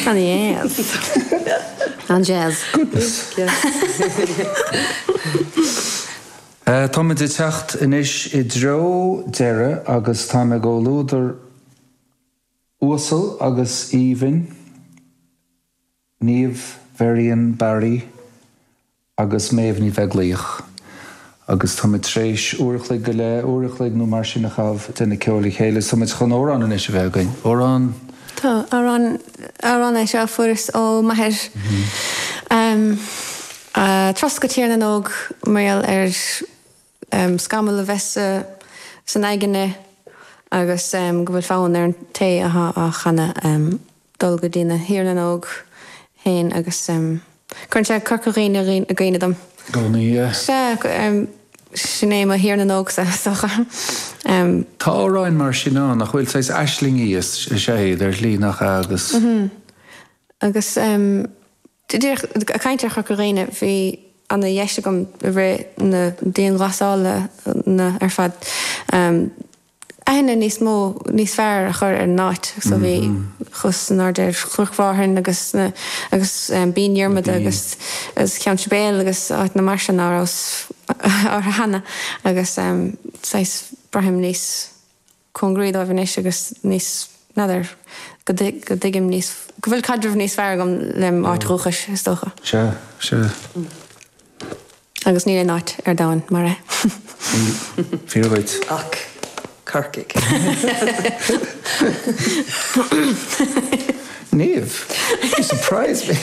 An-dheas. An-jazz. Goodness. Táimid ag teacht anois i dtreo deireadh agus táim i gcomhluadar uasal agus aoibhinn. Niamh Varian Barry agus Méabh Ní Bheaglaoich agus táimid tar éis uair a chloig go leith, uair a chloig nó mar sin a chaitheamh ag déanamh ceoil le chéile. So táimid chun amhrán anois a bheith againn. Amhrán. Tá, amhrán, amhrán é seo a fuaireas ó m'athair. Turas go Tír na nÓg mar gheall ar scamall a bheith san aigne agus go bhfuil fonn ar an té atá á chanadh dul go dtí na Thír na nÓg féin agus cuireann sé Corca Dhuibhne i gcuimhne dom. Gcónaí, yeah. Sea, sin é mo Thír na nÓgsa, is dócha. Tá amhráin mar sin ann, nach bhfuil? Saghas aislingí is ea iad ar shlí, nach ea? Agus. Agus. Díreach ag caint ar Chorca Dhuibhne, bhí ana dheis agam i rith na dianghlasála ar fad aithne níos mó, níos fearr a chur ar an áit. So bhí, chuas in airde ar Chnoc Mhárthain agus na, agus Binn Dhiarmada agus agus Ceann Sibéal agus áiteanna mar sin ná rabhas orthu cheana agus saghas braithim níos cóngaraí dóibh anois agus níos, n'fheadar, go dtuigim níos, go bhfuil caidreamh níos fearr agam lem áit dhúchais, is dócha. Sea, sea. Agus níl aon áit ar domhan mar é. Níl. Fíor dhuit. Ach Corcaigh. Niamh, you surprise me!